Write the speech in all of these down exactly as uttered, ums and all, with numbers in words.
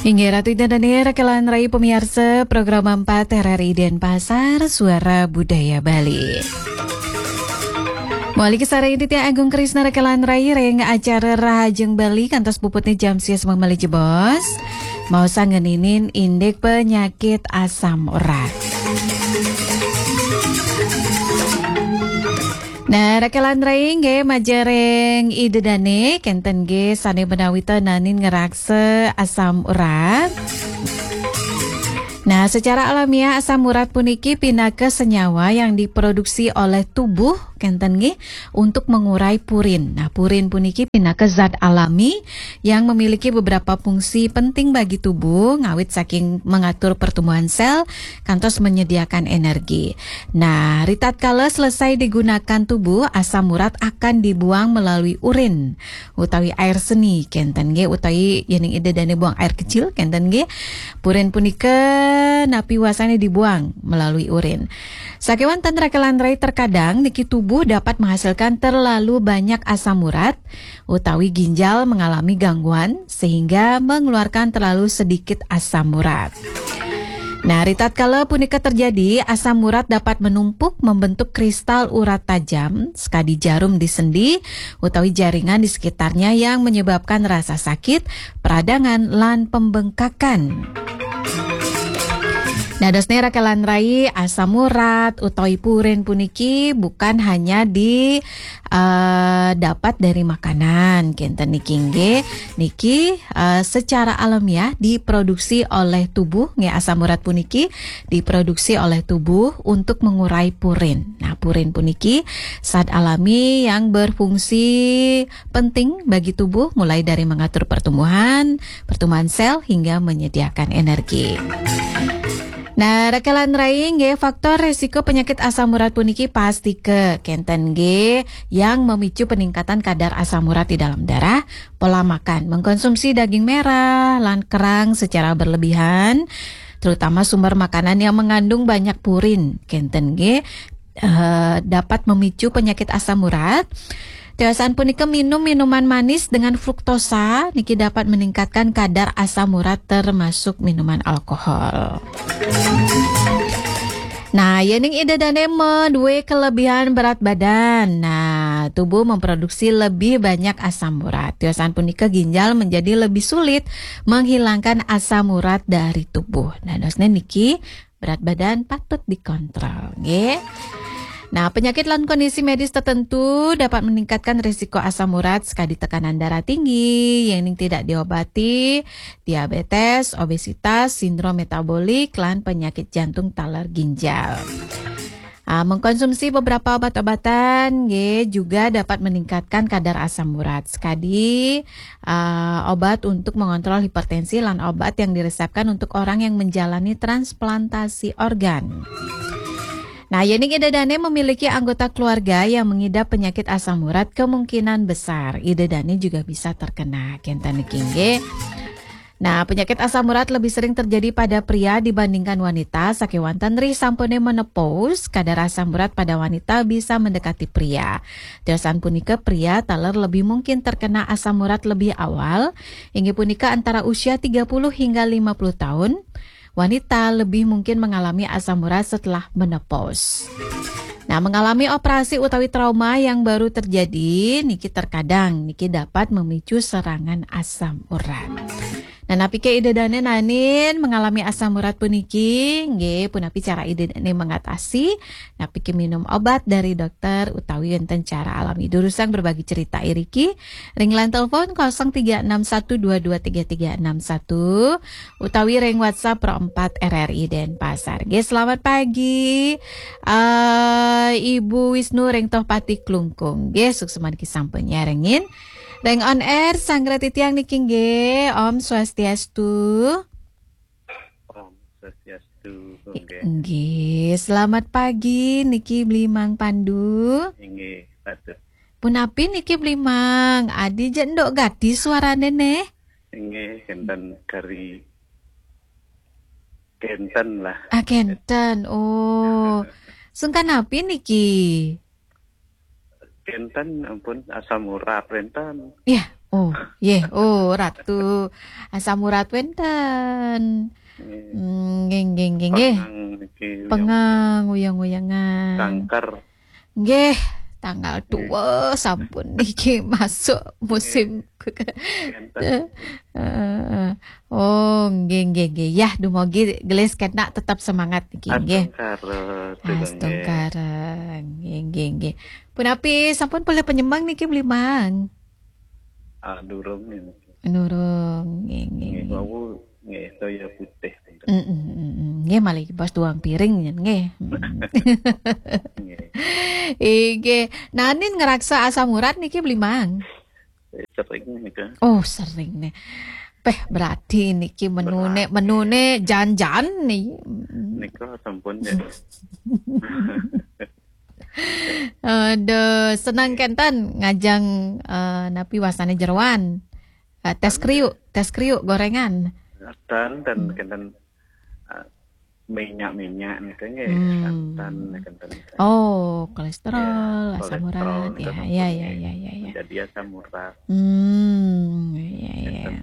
Inggih Ratu Ida Dani, rekan rai pemirsa program empat R R I Denpasar, Suara Budaya Bali. Mawali kasarengin titiang Agung Krisna rekan rai ring acara Rahajeng Bali kantos puputne jam sias malih jebos. Maos ngeninin indik penyakit asam urat. Nah, rekan rai nggih majeng ring Ida Dane, kenten nggih sane menawi ta nanin ngraksa asam urat. Nah, secara alamiah asam urat puniki pinaka senyawa yang diproduksi oleh tubuh, kenten nggih, untuk mengurai purin. Nah, purin puniki pinaka zat alami yang memiliki beberapa fungsi penting bagi tubuh, ngawit saking mengatur pertumbuhan sel kantos menyediakan energi. Nah, ritatkala selesai digunakan tubuh, asam urat akan dibuang melalui urin utawi air seni, kenten nggih, utawi yening Ida Dane buang air kecil, kenten nggih. Purin punika napi wasane dibuang melalui urin. Sakewanten rekan rai, terkadang niki tubuh dapat menghasilkan terlalu banyak asam urat utawi ginjal mengalami gangguan sehingga mengeluarkan terlalu sedikit asam urat. Nah, ritatkala punika terjadi, asam urat dapat menumpuk membentuk kristal urat tajam, sekadi jarum di sendi, utawi jaringan di sekitarnya yang menyebabkan rasa sakit, peradangan, lan pembengkakan. Nah, dosne rekan rai, asam urat utawi purin puniki bukan hanya di, eh, dapat dari makanan, kenten niki nggih. Niki, eh, secara alamiah diproduksi oleh tubuh, nggih, asam urat puniki diproduksi oleh tubuh untuk mengurai purin. Nah, purin puniki zat alami yang berfungsi penting bagi tubuh, mulai dari mengatur pertumbuhan, pertumbuhan sel, hingga menyediakan energi. Nah, rekan rai nggih, faktor resiko penyakit asam urat puniki pastika kenten nggih yang memicu peningkatan kadar asam urat di dalam darah, pola makan, mengkonsumsi daging merah lan kerang secara berlebihan, terutama sumber makanan yang mengandung banyak purin, kenten nggih, eh, dapat memicu penyakit asam urat. Tiosan punika minum minuman manis dengan fruktosa niki dapat meningkatkan kadar asam urat termasuk minuman alkohol. Nah, yening Ida Dane maduwe kelebihan berat badan. Nah, tubuh memproduksi lebih banyak asam urat. Tiosan punika ginjal menjadi lebih sulit menghilangkan asam urat dari tubuh. Nah, dosne niki berat badan patut dikontrol, nggih. Nah, penyakit lan kondisi medis tertentu dapat meningkatkan risiko asam urat, sekadi tekanan darah tinggi, yening tidak diobati, diabetes, obesitas, sindrom metabolik, lan penyakit jantung taler ginjal. Ah, mengkonsumsi beberapa obat-obatan, nggih, juga dapat meningkatkan kadar asam urat. Sekadi, ah, obat untuk mengontrol hipertensi lan obat yang diresepkan untuk orang yang menjalani transplantasi organ. Nah, yening Ida Dane memiliki anggota keluarga yang mengidap penyakit asam urat, kemungkinan besar Ida Dane juga bisa terkena. Kenten niki nggih. Nah, penyakit asam urat lebih sering terjadi pada pria dibandingkan wanita. Sakewanten ri sampune menopause, kadar asam urat pada wanita bisa mendekati pria. Tiosan punika pria taler lebih mungkin terkena asam urat lebih awal, inggih punika antara usia tiga puluh hingga lima puluh tahun. Wanita lebih mungkin mengalami asam urat setelah menopause. Nah, mengalami operasi utawi trauma yang baru terjadi, niki terkadang niki dapat memicu serangan asam urat. Nah, napi ke Ida Dane nanin mengalami asam urat puniki, nggih, punapi cara Ida Dane mengatasi? Napi ke minum obat dari dokter utawi wenten cara alami? Durusang berbagi cerita iriki ring line telepon kosong tiga enam satu dua dua tiga tiga enam satu utawi ring WhatsApp Pro empat R R I Denpasar. Nggih, selamat pagi, eh, Ibu Wisnu ring Tohpati Klungkung. Nggih, suksma niki sampun nyarengin. Ring on air, sanggra titiang niki nggih, Om Swastiastu. Om Swastiastu, nggih. Nggih, selamat pagi niki Bli Mang Pandu. Inggih, patut. Punapi niki Bli Mang? Adi je nduk gati suarane neh. Inggih, kenten kari. Kenten lah. Ah, kenten. Oh. Sungkan napi niki? Kenten ampun asam urat kenten. Yah, Oh, yeh. Oh, Ratu asam urat wénten. Nggih. Hmm, nggih, nggih, nggih, nggih. Pengang niki, uyang-uyang. Pengang, uyang-uyangan. Kanker. Nggih, tanggal dua sampun niki masuk musim. Nggih. Heeh. Oh, nggih, nggih, nggih. Yah, dumugi gelis kena tetap semangat niki, nggih. Astungkara, nggih. Astungkara. Nggih, nggih, nggih. Punapi sampun polih penyemang niki, Bli Mang? Ah, durung niki. Durung, nggih, nggih, nggih. Nggih, wau nggih, toya putih. Mm, mm, mm, mm. Nggih, malih bos duang piring, nggih. Mm. Nggih. Inggih. Nanin ngraksa asam urat niki, Bli Mang? Eh, sering nika. Oh, sering nih. Peh, berarti niki menune, berat, menune jan-jan nih. Nika sampun ya. Aduh, senang kenten ngajeng, eh, napi wasane jeroan. Eh, tes kriuk, tes kriuk gorengan. Dan, dan kenten, eh, minyak-minyak nika nggih, hmm, santan nika kenten. Oh, kolesterol, ya, asam urat. Kolesterol nika ya, sampun ya, ya, nggih. Ya, ya, ya. Jadi asam urat. Hmm, ya, ya. Kenten.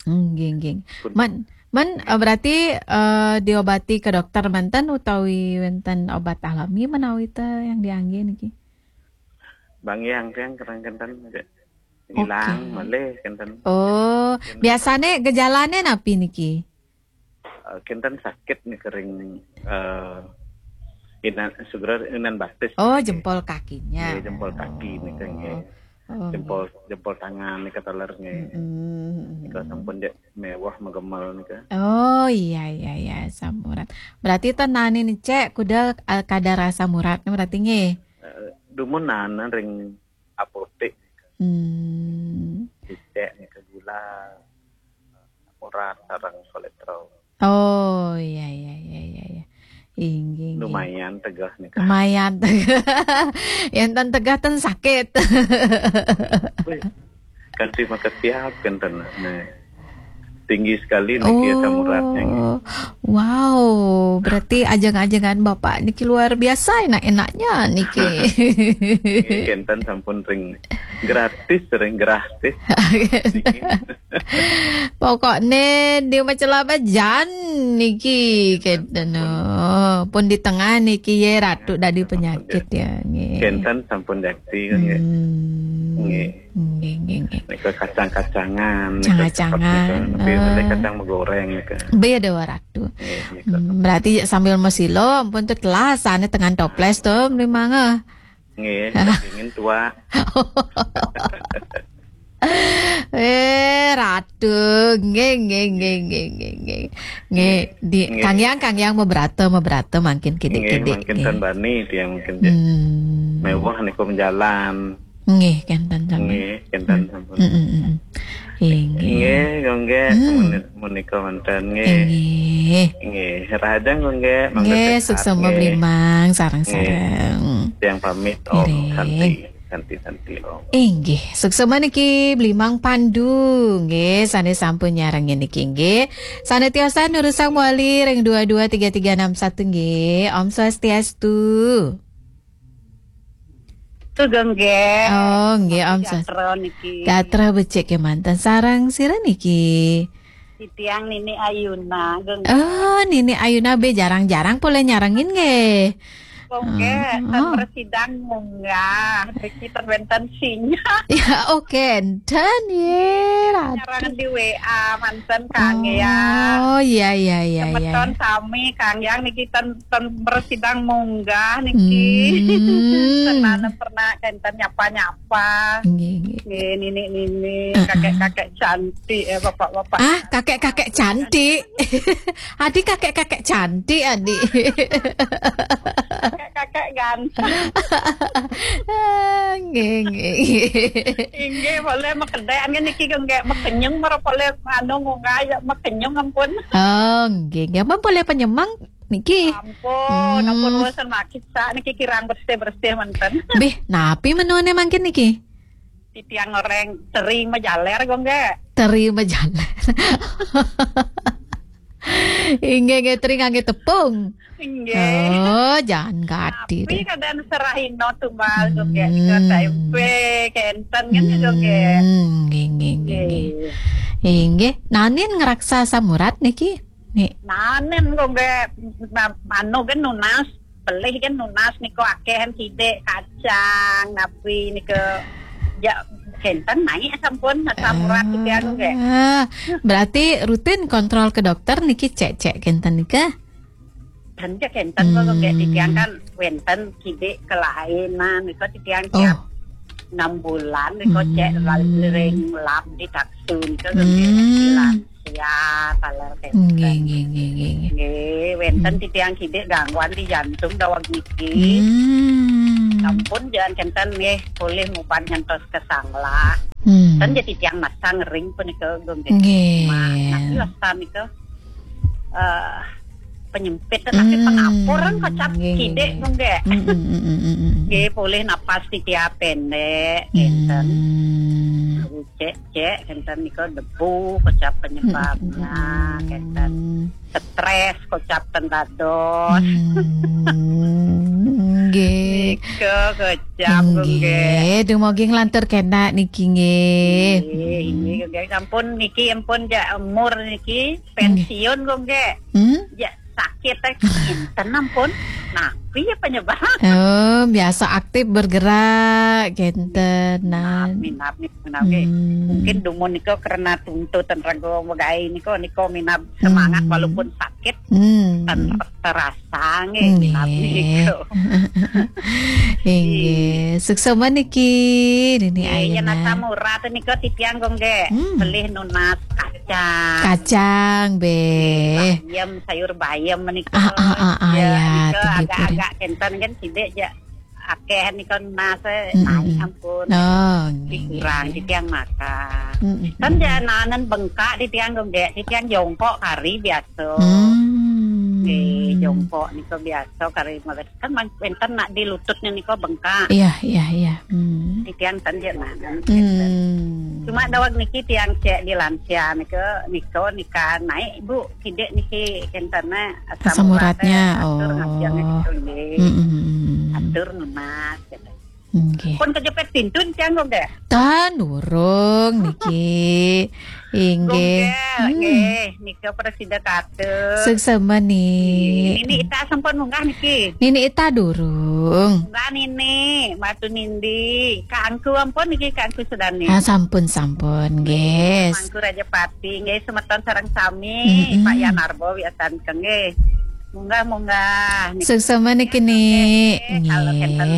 Nggih, nggih. Pun. Man, man, eh, berarti, eh, diobati ke dokter manten utawi wenten obat alami menawi te yang diangge niki? Bang yang, yang kerang kenten, nggih. Hilang, oke, malih kenten. Oh, kenten. Biasane gejalane napi niki? Eh, kenten sakit nih kering, eh, inan, sebenarnya inan batis. Oh, nggih. Jempol kakinya. Nggih, jempol kaki nih, nggih. Oh. Oh, jempol, nggih. Jempol tangan nih kataler nggih. Mm-mm. Nika sampun dek mewah megemel nih, Kak. Oh, iya, iya, iya, asam urat. Berarti tenane nih, Cek, kuda, eh, kadar asam uratnya berarti nggih. Eh, dumunan ring apotek. Hmm. Cek nih ke gula, asam urat, sareng kolesterol. Oh, iya, iya, iya, iya, iya. Inggih, inggih. Lumayan tegah nih, Kak. Lumayan tegah. Yang tan tegah tan sakit. Wih, kan terima kasih kenten. Nah, tinggi sekali niki asam uratnya nggih. Oh, wow, berarti ajeng-ajengan Bapak niki luar biasa enak-enaknya niki. Nggih, kenten sampun ring gratis, ring gratis. Pokoknya dia macam apa jan niki kenten. Oh, pun di tengah niki ye ratu dari penyakit ya nggih. Kenten sampun jakti nggih. Hmm. Nggih. Nggih, nggih, nggih. Nika kacang-kacangan, nika kacang-kacangan, cepet nika, tapi eh, kacang megoreng nika. Beda waratu. Nggih, nika. Hmm, berarti sambil mesilo, ampun tuh telas, ane tengan toples tuh, beli mangga. Nggih, dingin tua. Eh, ratu, nggih, nggih, nggih, nggih, nggih, nggih. Nggih, di, nggih. Kang Yang, Kang Yang, meberata, meberata, makin kidik-kidik, nggih, makin nggih. Tan bani, tiang makin je-, hmm, mewah niku menjalan. Nggih, kenten sampun. Nggih, kenten sampun. Mm, mm, mm, mm. Inggih. Nggih, nggih, hmm, menika wonten nggih. Inggih. Nggih, rahajeng nggih, mangga nggih, sehat, suksma nggih. Blimang, sareng-sareng. Nggih. Tiang pamit, Om. Nggih. Santi, santi, santi, Om. Inggih, suksma niki Blimang Pandu, nggih, sane sampun nyarengin niki nggih. Sane tiosan nurusang wali ring dua dua tiga tiga enam satu nggih. Om Swastiastu. Sugeng nggih. Oh, nggih, Om Sas-, gatra niki. Gatra becik kemanten. Sareng sira niki? Titiang Nini Ayuna, geng. Oh, Nini Ayuna be jarang-jarang poleh nyarengin nggih. Kok nggih, oh, ten oh. Mresidang munggah, niki ten wenten sinyal. Ya, oke, enten ye, Ratu. Nyarengin di W A manten Kang Yang. Oh, iya, iya, iya, iya. Semeton sami Kang Yang niki ten, ten mresidang munggah niki. Hmm. Tenane pernah kenten nyapa-nyapa. Nggih, nggih. Nggih, nini-nini, heeh, kakek-kakek cantik ya, bapak-bapak. Ah, kakek-kakek cantik. Adi kakek-kakek cantik, Adi. Kakek-kakek ganteng. Ah, nggih, nggih, nggih. Inggih, boleh makedek nggih niki nggih makenyeng mara boleh anu munggah ya makenyeng ampun. Oh, nggih, nggih. Ampun boleh penyemang niki. Ampun, ampun, hmm, bosen makit sa niki kirang bersih-bersih manten. Bih, napi menune mangkin niki? Titiang goreng teri majaler kok nggih. Teri majaler. Inggih, nggih, teri ngangge tepung. Inggih. Oh, jangan gadi. Tapi kadang serahino tumbal, hmm, juga, nika tempe, kenten kan juga, nggih. Hmm, nggih, nggih, nggih, nggih. Nggih. Inggih, nanin ngraksa asam urat niki? Nih. Nanin kok nggih, ma-, manu kan nunas, pelih kan nunas nika akeh kan sidik, kacang, napi nika. Ya, kenten naik sampun asam urat titiang nggih. Ah, berarti rutin kontrol ke dokter niki cek-cek kenten nika? Dan cek kenten kok nggih, hmm, titiang kan wenten sidik kelainan nika titiang, oh, tiap enam bulan nika cek, hmm, ring lab di taksu nika nggih, hmm, di lansia taler kenten. Nggih, nggih, nggih, nggih, nggih. Nggih, wenten, hmm, titiang sidik gangguan di jantung daweg niki. Hmm. Sampun jalan kenten nggih, polih mupan ngantos ke Sanglah. Hmm. Dan jadi tiang masang ring punika nggih. Nggih. Nah, niki wastan nika, eh, penyempit, tapi, hmm, pengapur kan kocap, nggih, nggih, sidik nggih, nggih. Mm, mm, mm, mm, mm, mm. Nggih, polih napas titiang pendek, hmm, kenten. Cek, cek, kenten nika debu kocap penyebabnya, mm, mm, mm, mm, kenten. Stres kocap ten dados. Hmm, nggih. Nika kocap, nggih, nggih. Dumugi nglantur kena niki nggih. Nggih, nggih, nggih. Sampun niki ampun jak umur niki pensiun kok nggih. Hmm? Jak sakit teh kinten ampun. Nah, piye penyebab? Oh, biasa aktif bergerak, kenten. Nah. Minab, minab, minab, nggih. Hmm. Mungkin dumun nika karena tuntutan raga megai nika, nika minab semangat, hmm, walaupun sakit, hmm, ten-, terasa nggih, minab, nggih, nika. Inggih. Suksma niki, Nini, nggih, Ayuna. Yen asam urat nika titiang kok nggih. Hmm. Pelih nunas kacang. Kacang, nggih. Bayem, sayur bayem menika. Ah, ah, ah, ah, ya, ya, nika tegi agak-agak purun. Kenten kan sidik jak akeh nika nunas, eh, mm, naik, mm, ampun. Oh, nggih, nggih, dikurang, nggih, titiang makan. Mm, mm, kan mm, mm. Jananan bengkak titiang kok nggih, titiang jongkok kari biasa. Hmm. Nggih, jongkok nika biasa kari mawon. Kan man-, wenten nak di lututnya nika bengkak. Iya, iya, iya. Hmm. Titiang ten jek mangan. Hmm. Cuma daweg niki tiang cek di lansia nika, nika, nika naik, Bu, sidik niki kentena asam uratnya. Asam uratnya, atur, oh, ngasiannya gitu nggih. Hmm, hmm, hmm, hmm. Atur nunas gitu. Nggih. Pun kejepit pintu tiang kok nggih. Tan durung niki. Inggih. Nggih, hmm, nggih, nika prasida katur. Suksma, Ni. Nini Ita sampun munggah niki. Nini Ita durung. Munggah Nini, Batu Nindi, Kangku ampun niki, Kangku sedane. Ah, sampun, sampun, nggih. Mangku Rajapati, nggih, semeton sareng sami, mm-mm, Pak Yanarbo wiasan nggih. Munggah, munggah. Niki. Suksma niki, Ni. Nggih, nggih. Kalau kenten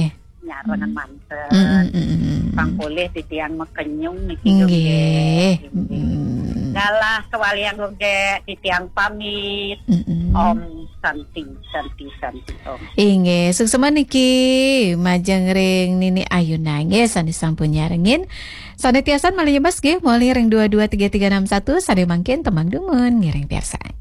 nyarengan manten. Mm, mm, mm, mm, mm. Pang polih titiang makenyung niki, nggih, nggih. Mm. Galah kewalian nggih, titiang pamit. Mm, mm. Om Santi, Santi, Santi, Om. Inggih, suksma niki majeng ring Nini Ayuna nggih, sane sampun nyarengin. Sane tiasan malih nyebas nggih, malih ring dua dua tiga tiga enam satu, sane mangkin tembang dumun ngiring piarsaan.